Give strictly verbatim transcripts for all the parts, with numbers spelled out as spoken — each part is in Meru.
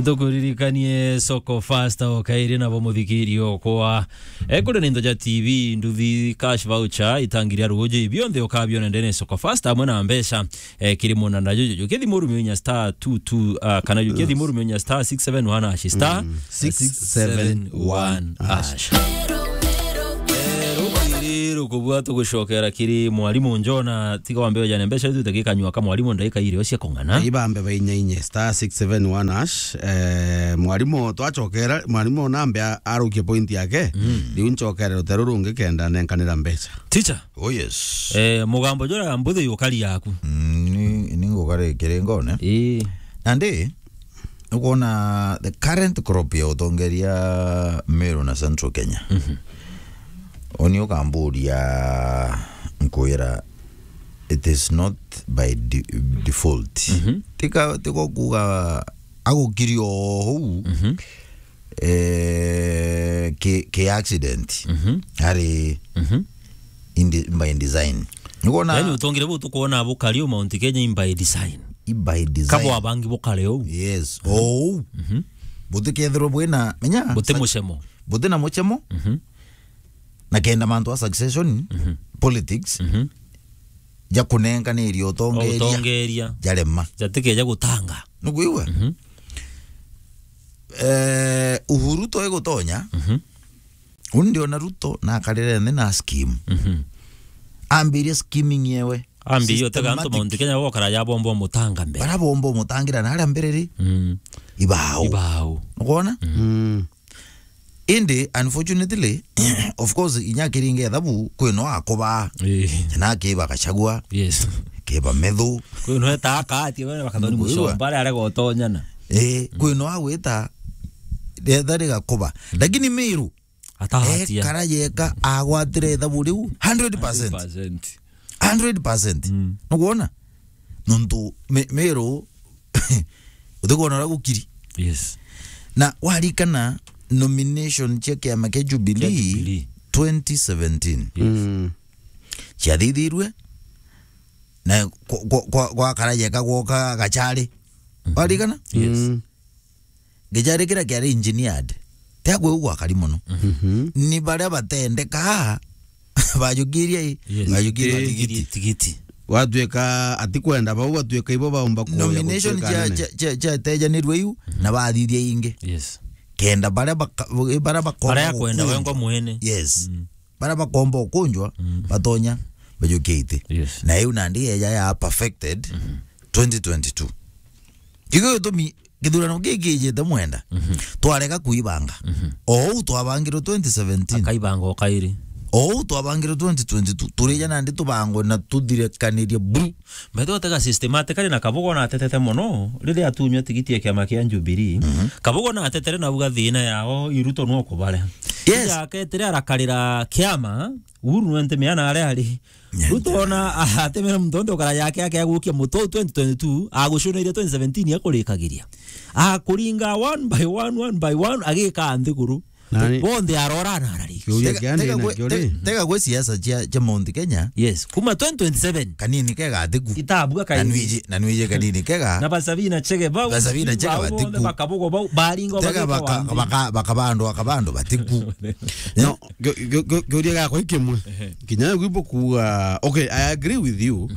Tukuririkanie Soko Fasta o kairi nabo muthikiri okwa. E, kuri ni into ja T V, nduthi, cash voucher, itangi ria ruuji, bionthe ukabiona ndene Soko Fasta amwe na mbeca, e, kiri munana juju. Ukithi murumi unya star two two, ah, kana ukithi murumi unya star six seven one hash, star six seven one hash. E, rukuiri rukubua tugucokera kiri mwarimu Njona, tiga wambe ujane mbeca iu tutakikanyua ka mwarimu ndagika iri cia kung'ana. Ibambe bainya inye, star six seven one hash. Eh, mwarimu twacokera, mwarimu nambe a-, arukie point yake, riu ncokere ruteru rungi kenda nenkanira mbeca. Teacher? Oh, yes. Eh, mugambo jura mbuthi ukari yaku. Mm, ni, ni ngukari kiri ngone. Ii. Nandi, ukwona the current crop ya utongeria Meru na Central Kenya. Uni ukamburia nkwira, it is not by de-, default. Tika, tiko kuga agukiri o huu, eh, ki, ki accident. Ari in de-, by design. Nikuona yani utongire bu tukuona bukari u Mount Kenya in by design. I by design. Kabo abangi bukare u. Yes. O u. Butikethirwo bwina, menya? Buti mucemo. Buti na mucemo. Na kenda mantu a succession, politics, ja kunenganiria utongeria, utongeria, jarema. Jatikeja gutanga. Nukwigua? Eh, Uhuru toi gutonya. Uni ndiona Ruto na akarire nthi na scheme. Ambirie scheming yewe. Ambirie utega antu Mount Kenya bokara ya bombo mutanga mbere. Bara bombo mutangira na aria mbere ri? Ibao. Ibao. Nukwona? Indi, unfortunately, of course, inya akiringa ethabu, kwi no akoba. Ii. Na akiba Gachagua. Yes. Akiba Methu. Kwi no eta akati, we bakathoni. Mucomba aria arega utonyana. Ii, kwi no agwita, retha rigakoba. Lakini Meru, atahatia. Ekara yeka agwatire ethabu riu, hundred percent. Hundred percent. Hundred percent. Nukwona? Nontu Me-, Meru, utikwona uria gukiri. Yes. Na warikana nomination cia kiama kia Jubilee, kia Jubilee, twenty seventeen. Yes. Ciathithirue, na kwa, kwa, kwa, gwakara yeka gwoka Gachari. Warikana? Yes. Gicari kiria kiari engineered, tia kwi u gwakari mono. Ni baria batendeka bajukiria i, yes, bajukiria tigiti. Tigiti. Gwatuika atikwenda bau, gwatuika ibo baumba kuya. Nomination gutuika cia, anene, cia, cia, ciatejanirwe iu, na bathithia ingi. Yes. Kenda baria baka-, baria bakomba, baria akwenda gukundwa, wengwa mwene. Yes. Baria bakomba ukunjwa, batonya bajukia iti. Yes. Na iu nandi yeja ya perfected twenty twenty-two. Kigo gitumi githurano giki kijite mwenda, twarega kuibanga. O uu twabangirwe twenty seventeen. Akaibanga o kairi. O uu twabangirwe twenty twenty-two. Turija nandi tubangwe na tuthirikanirie buru. Mbethe utega systematically na Kabogo natetete mono riria atunywa tigiti ya kiama kia Jubilee. Kabogo natetere na uga thina yao i Ruto no kubare. Yes. Ija aketere arakarira kiama, Uhuru nwe ntimea na aria ari. Ruto ona atemera muntu onde ukara yake yake agukia muto twenty twenty-two, agucunaire twenty seventeen akurikagiria. Akuringa one by one, one by one, agika nthiguru. Nani? Bonthe arora na arari. Kiuria kia ndina kio ri? Tega gwe siasa cia, cia Mount Kenya. Yes, kuma twenty twenty-seven. Kanini kega atiku. Itabua kaini. Na nwiji, na nwiji kanini kega. Na Basabina Chege bau. Basabina Chege bau, batiku. Bonthe bakabugo bau, baringo. Tega baka, baka, baka bandu, aka bandu batiku. No, kio-, kio-, kio-, kiuria gakwa ikimwe. Ehe. Kinya gwi bukuga, okay, I agree with you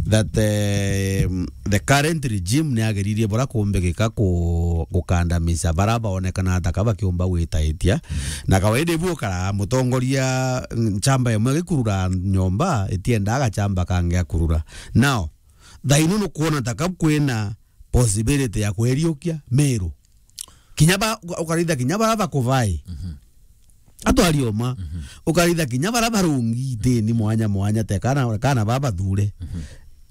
that, eh, the current regime ni ageririe bura kumbikika ku-, gukandamica bara baonekana ta ka bakiumba gwitaitia. Na kawaida ibu ukara mutongoria, mm, chamba imwe gikurura nyomba, itiendaga chamba kangi akurura. Now, thaino nukwona ta ka kwina possibility ya kweriukia Meru. Kinya ba, uka-, ukaritha kinya bara bakuvai. Atwari oma. Ukaritha kinya bara barungi itini mwanya mwanya, te kana, kana babathure.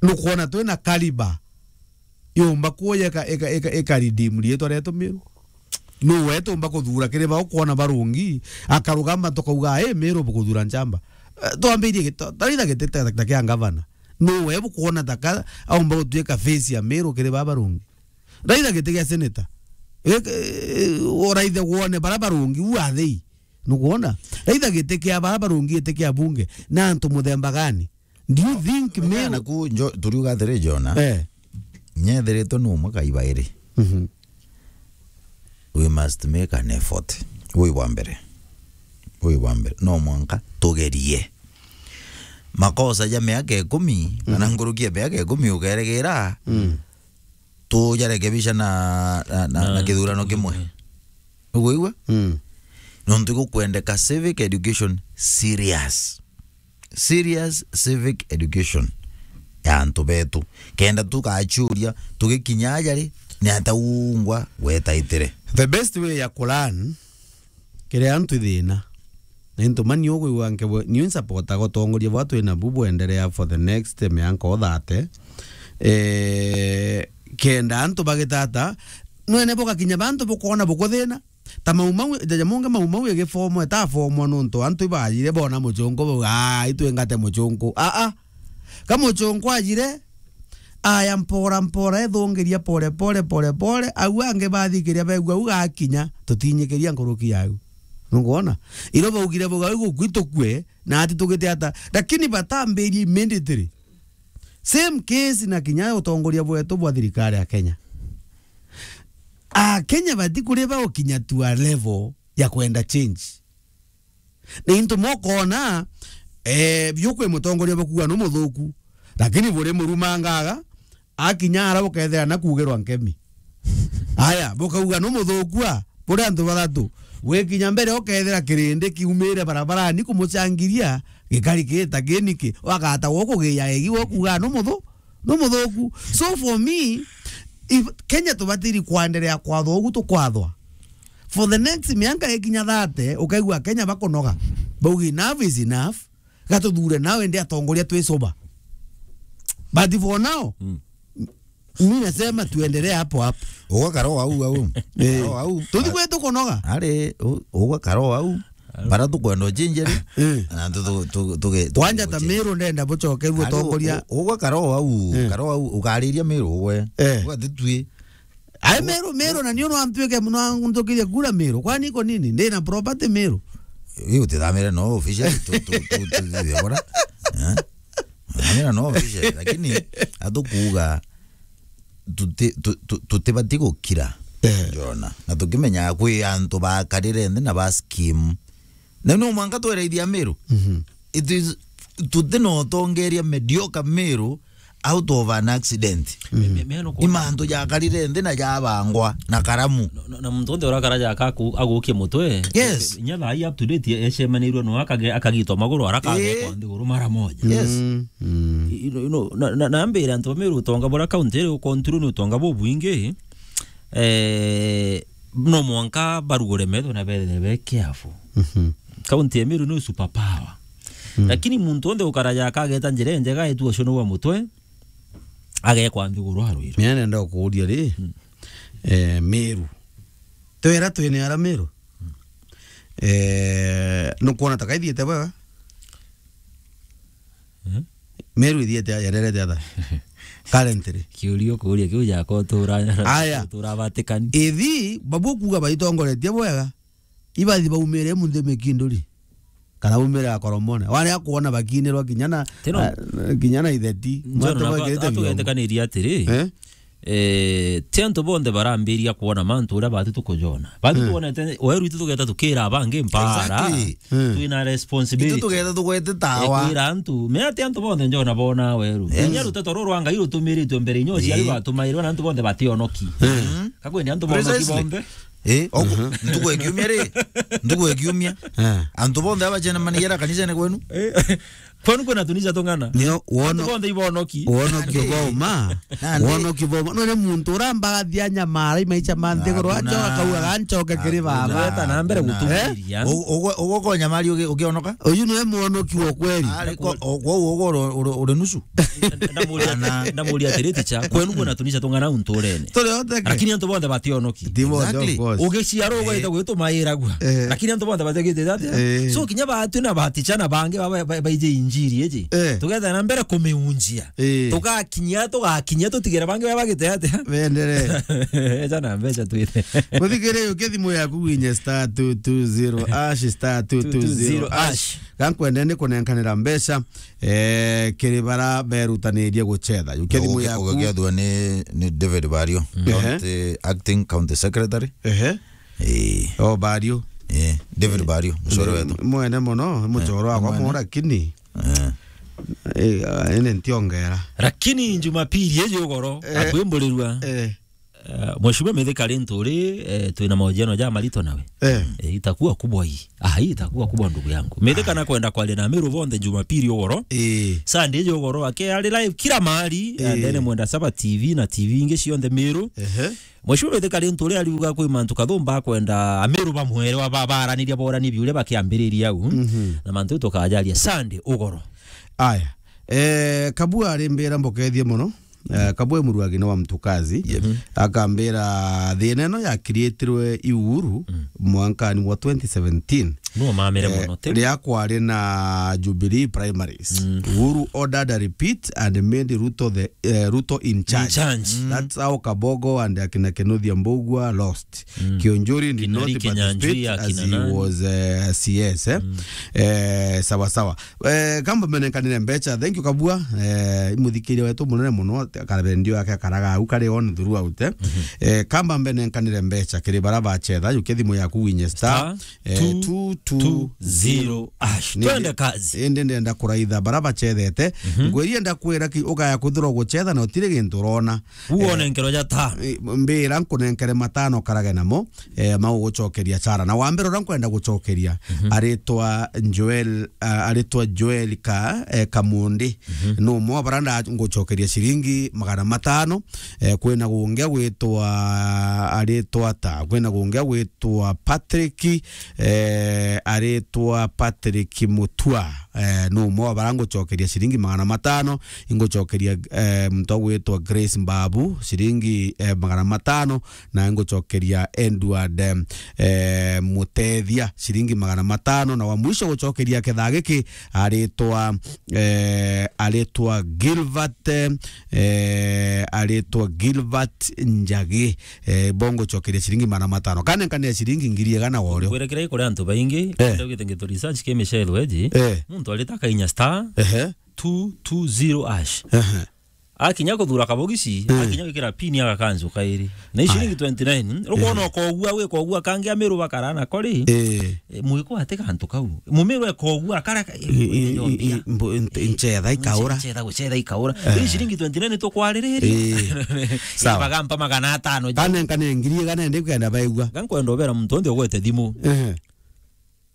Nukwona twina caliber yumba kuoya ika, ika, ika, ika redeem riitwa rietu Meru? Nu we tumba kuthura kiri ba ukwona barungi, akarugama tukauga, "Ii, Meru bukuthura nchamba." Eh, twambirie gita-, taritha giti ta, ta kia ngavana. Nu we bukwona ta ka aumba gutuika face ya Meru kiri ba barungi? Raitha giti gia senator. Uraithe wone bara barungi, who are they? Nukwona? Raitha giti kia bara barungi, giti kia bunge. Na antu muthemba gani? Do you think Meru naku njo-, turiuga atiri, Jona? Eh. Nyethiritwe ni umwe kai bairi. Mhm. We must make an effort. Ui bwa mbere. Ui bwa mbere. No mwanka tugerie. Makosa ja miaka ikumi, kana nkuruki ya miaka ikumi ukeregeera, tujarekebisha na, na, na, na kithurano kimwe. Ugwigua? Nontu igukwendeka civic education serious. Serious civic education ya antu betu. Kenda tugachuria, tugikinya aja ri, ni ata ungwa gwetaitire? The best way ya kulearn kiria antu thina. Na into mani ukwigua nkebwe, niu nsupportaga utongoria bwa twina bu bwenderea for the next mianka o thirty. Eh, kenda antu bagitata, nwene bugakinya bantu bukoona bukuthina. Ta Mau Mau, jaja mungi Mau Mau igifomwa, itafomwa nontu antu ibajire bona muchunku bau, "Aa, itwingate muchunku." Aa, aa. Ka muchunku ajire, aya mpora mpora, ethungiria pore pore, pore pore, au angi bathikiria begua au gakinya, tutinyikiria nkuruki yau. Nukwona? Iro baugire bau au gukui tukue, na ati tugite ata. Lakini batambirie immediately. Same case na kinya utongoria bwetu bwa thirikari ya Kenya. Akenya bati kuri ba ukinya to a level ya kwenda change. Ni into mokona, eh, biu kwi mutongoria bakuga nu muthuku, lakini buri murumangaga, akinya ara bukethira na kuugirwa nkemi. Aya, bukauga nu muthuku a, buri antu bathatu. Gwikinya mbere ukethira kirindi kiumire barabarani kumuchangiria, gikari gita kiniki, wakata gukugia egi gukuga nu muthu, nu muthuku. So for me, if Kenya tubatiri kwenderea kwathwa ugu tukwathwa, for the next mianka ikinya thirty, ukaigua Kenya bakunoga. Bauga, "Enough is enough. Gatuthure nawe ndi atongoria twi sober." But for now, mi nasema tuendelee hapo hapo. Ugakara o au au. Eh. Kara o au. Tuthi kwetu kunoga. Ari, u-, ugakara o au. Bara tukwenda uchinje ri. Eh. Na tu, tu, tu, tuge, kwanja ta tuge Meru ndenda bucokerwe utongoria. U-, ugakara o au, eh, kara o au, ukariria Meru we. Eh. Ugati tui. Ai Meru, Meru na nio no antwike muno antukirie kura Meru. Kwani iko nini? Ndi na property Meru. Iu utithamire no official tu, tu, tu, tu, tu, bora. Eh? Utithamire no official, lakini atukuuga tuti-, tu-, tu-, tutibati gukira. Eh. Njona. Na tukimenya kwi antu bakarire nthi na ba scheme. Na no mwanka tweraithia Meru. Mhm. It is, tuti no tongeria mediocre Meru out of an accident. Mm. Me-, me-, me no kuona. Ni mantu jakarire nthi na jabangwa na karamu. No, no, na muntu onthe urakara jaka aku-, agukia mutwe. Yes. Nya thaa ii up to date ecemanirwe no akage-, akagitwa maguru arakage, eh, kwa nthiguru mara moja. Yes. Mm. Mm. You know, you know, na, na, na mbere antu ba Meru utonga bura county iri ukontrol ni utonga bubwingi. Eh, no mwanka barugure metho na bethe be careful. Mhm. County ya Meru ni super power. Mm. Lakini muntu onthe ukaraja akageta njira injega etu ucio ni wa mutwe, agekwa nthiguru arwirwe. Mimi nenda kuuria ri, mm, eh, Meru. Twera twene ara Meru. Mm. Eh, nukwona ta kaithiete bwega? Eh? Meru ithiete aja, yererete atha? Currently. Kiuria ukuria kiu jaka utura, aya, utura Vatican. Ithi, babu kuga baitongoretie bwega. Ibathi baumire munthi mikinduri. Kana baumire akoromone. Wari akuona bakinirwa kinya na, tino, ah, kinya na itheti. Njoro. Mwantu na bakirite biombo. Atugetekanirie atiri, eh? Eh, ti antu bonthe barambiria kwona mantu uria bati tukujona. Bati, mm, twonete, weru itu tugeta tukira abangi mpara. Exactly. Mm. Twina responsibility. Itu tugeta tugwete tawa. Eh, kwira antu. Me ati antu bonthe njona bona weru. Yes. Kinya ruteto ruru rwa Ngai rutumiritwe mbere inyo ciari, eh, batumairwe na antu bonthe bationoki. Mm. Kakwe ni antu bonoki, precisely, bonthe. Eh, ogu, mhm, ntuku ya kiumia ri? Ntuku ya kiumia. Eh. Antu bonthe abacemanagia ara kanisene kwenu? Eh, kwenu kwina tunisa tung'ana? Nio wono-, antu bonthe ibonoki. Wonoki boma. Nandi. Wonoki boma. None muntu urambathia nyamara imaicha ma nthiguru, hakuna, achoka kauga, "Ganchoke kiri, hakuna, baba." Weta na mbere, hakuna, gutumiria. Eh? U-, ugo-, ugo konyamari ugi-, ugionoka? Uyu niwe mwonoki wa kweli. Ari ko-, o-, kwou ugo uri, uri, uri nusu? Ndamuria, ndamuria atiri, "Ticha, kwenu kwina tunisa tung'ana unturene?" Turi othe ke? Lakini antu bonthe bationoki. Ti bonthe, exactly, of course. Ugiciarwo, eh, ugwita gwitumairagua. Eh. Lakini antu bonthe bategite atia? Eh. So, kinya batu na baticha na bangi ba-, ba-, ba-, baije injiri iji. Eh. Tugetha na mbere kumiunjia. Eh. Tugakinyia, tugakinyia, tutigere bangi ba-, bagite atia? Bendere. Eja na mbeca twite. Muthikire, uke thimu yaku winye star two two zero hash, star two two zero hash. Gankwende ni kunenkanira mbeca, eh, kiri bara berutanirie gucetha. Uke thimu yaku. Ugekethwa ni, ni David Bario, ehe, county, acting county secretary. Ehe. Eh. Oh, Bario. Eh, David Bario, mcore wetu. Mwene mono, mcore wakwa mwene. Lakini. Eh. Eh, ah, ene ntiongera. Lakini Jumapili iji ugoro, eh, akwimburirua. Eh. Eh, Mheshimiwa Mithika Linturi, eh, twina mahojiano ja marito nawe. Eh. Eh, itakuwa kubwa hii. Ah, hii itakuwa kubwa, ndugu yangu. Mithika nakwenda kwaria na Amiru bonthe Jumapili ugoro. Eh. Sunday iji ugoro ake ari live kila mahali, eh, ndene Mwenda Saba T V na T V ingi cionthe Miru. Ehe. Mheshimiwa Mithika Linturi ariuga kwi mantu kathumba akwenda Amiru bamwere wa ba-, baraniria borani biuria bakiambiriria au. Mhm. Na mantu tukajaria Sunday ugoro. Aya. Eh, Kabua arimbira mbokethie mono. Eh, Kabwe Muruagi ni wa Mtukazi. Yep. Mhm. Akambira thina ino yakiritirwe i Uhuru, mm, mwankani wa twenty seventeen. Nuo mamire, eh, mono, ti? Ria kwari na Jubilee primaries. Mm. Uhuru ordered a repeat and made Ruto the, eh, Ruto in charge. In charge. Mm. That's how Kabogo and akina Kinothia Mbugua lost. Mm. Kiunjuri did not participate as he was, eh, C S, eh? Mm. Eh, sawa sawa. Eh, kamba menenkanire mbecha. Thank you, Kabua. Eh, imuthikiria wetu munene muno, karabendio yake akaraga au kari on throughout, eh. Mhm. Eh, kamba menenkanire mbecha kiri bara bachetha, yuke thimu yaku winye star, star, eh, two two zero hash. Nindi, twende kazi. Indi ndenda kuraitha bara bachethete. Mhm. Ngwiri ndakwira ki ugaya kwithirwa guchetha na utiri gintu urona. Uone, eh, nkero ja tano. Eh, mbira nkunenkere matano karage namo, eh, mau gucokeria chara. Na wa mbere uria nkwenda gucokeria, mhm, aritwa Joel, ah, aritwa Joel Ka-, eh, Kamundi. Mhm. No mwa bara nda ngucokeria ciringi magana matano. Eh, kwina gungi gwitwa, aritwa ta, kwina gungi gwitwa Patrick, eh, aritwa Patrick Mutua. Eh, no mwa bara ngucokeria ciringi magana matano. Ingucokeria, eh, muntu ugwitwa Grace Mbabu, ciringi, eh, magana matano, na ingucokeria Edward, eh, eh, Mutethia, ciringi magana matano, na wa mwisho gucokeria kethaa giki aritwa, eh, aritwa Gilbert, eh, aritwa Gilbert Njagi, eh, bo ngucokeria ciringi magana matano. Kana nkania ciringi ngiri igana wa urio. Ngwire kiria gikuri antu baingi, eh, ndugite ngitu research ki Michelle Weji, eh, muntu arita kainya star, ehe, two two zero hash. Ehe. Akinya kuthura kabogisi, eh, akinya gwikira pin agakanju kairi. Na i ciringi twenty nine, rukwona, aya, ukogua, wi kogua kangi Amiru bakara nako ri. Eh. Eh, mwiko ati kantu kau. Mumiru ekogua akara ka-, i-, i-, i-, i-, mbu-, nt-, nchetha ikaura. Nchetha guchetha ikaura. Eh. I ciringi twenty nine tukwaririria. Eh. Sawa. Bagampa magana atano. Kana nkane ngiri igana ndi kwenda baigua. Gankwenda ubera muntu onde ugwete thimu. Eh.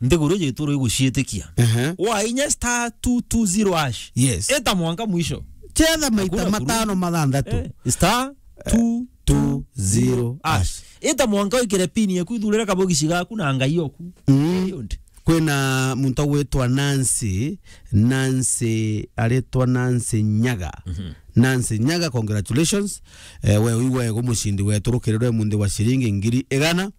Nthiguru iji ituro iguciitikia. Ehe. Wainya star two two zero hash. Yes. Ita mwanka mwisho. Chetha maita matano, mathanthatu. Eh, star two two zero hash. Ita mwanka wikire pin yaku, ithurire kabogisi gaku na Ngai oku. Mm. Period. Kwina muntu ugwitwa Nancy, Nancy, aritwa Nancy Nyaga. Mhm. Nancy Nyaga, congratulations. Eh, we wigwe gu mucindi wetu rukirirwe munthi wa ciringi ngiri igana.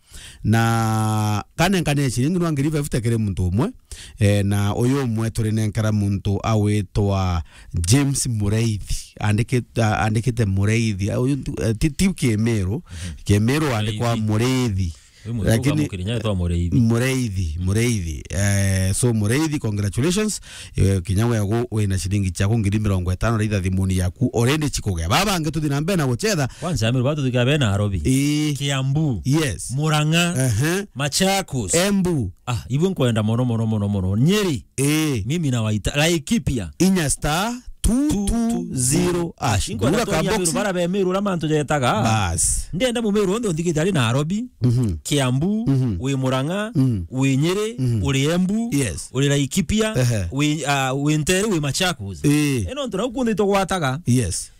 Na kanenkanire ciringi nwa ngiri fifty kiri muntu umwe. Eh, na uyu umwe turinenkera muntu awitwa James Mureithi. Andiki-, a-, andikite Mureithi. A, uyu ntu-, eh, ti, ti Kimiru. Mhm. Kimiru andikwa Mureithi. Mureithi. Uyu muntu lakini ukamukirinya etwa Mureithi. Mureithi, Mureithi. Eh, so Mureithi, congratulations. Eh, kinya we gu-, wina ciringi ciaku ngiri mirongo itano raitha thimuni yaku. Already chikugea. Baba bangi tuthi na mbere na guchetha. Kwanza, Amiru, batu tukia bena Nairobi. Ii. Kiambu. Yes. Murang'a. Ehe. Machakos. Embu. Ah, ibwe nkwenda mono, mono, mono, mono. Nyeri. Ii. Mimi na Waita. Laikipia. Inya star two two zero hash. Inkwenda turia Amiru, bara be Amiru, ura mantu jetaga. Bas. Ndenda Mumiru onthe unthikite ari Nairobi. Mhm. Kiambu, mhm, wi Murang'a, mhm, wi Nyeri, mhm, uri Embu, yes, uri Laikipia, ehe, wi, ah, wi Ntere, wi Machakos. Ii. Ino ntu nau kunthe itugwataga. Yes.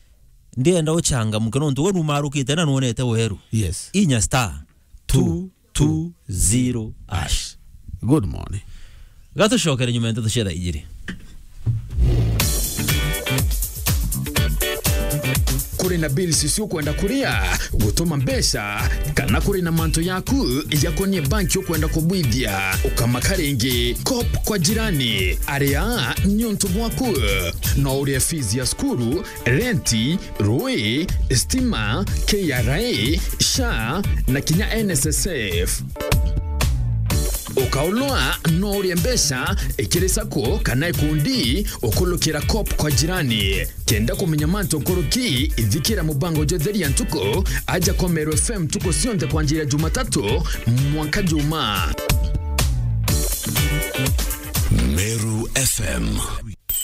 Ndienda uchangamke nontu we numarukite na nuonete weru. Yes. Inya star two two zero hash. Good morning. Gatucokere nyuma ya nteto cia thaa ijiri. Kuri na bills cio kwenda kuria, gutuma mbeca, kana kuri na mantu yaku yakonie banki ukwenda kubwithia, ukamaka ringi. Cop kwa jirani, aria niuntu bwaku. No urie fees ya cukuru, renti, rui, stima, K R A, SHA, na kinya N S S F. Ukaulwa no urie mbeca ikiri sacco kana ikundi ukulukira Coop kwa jirani. Kenda kumenya mantu nkuruki, ithikira mubango jwa Theria Ntuku aja kwa Meru F M ntuku cionthe kwanjira Jumatatu mwanka Juma. Meru F M.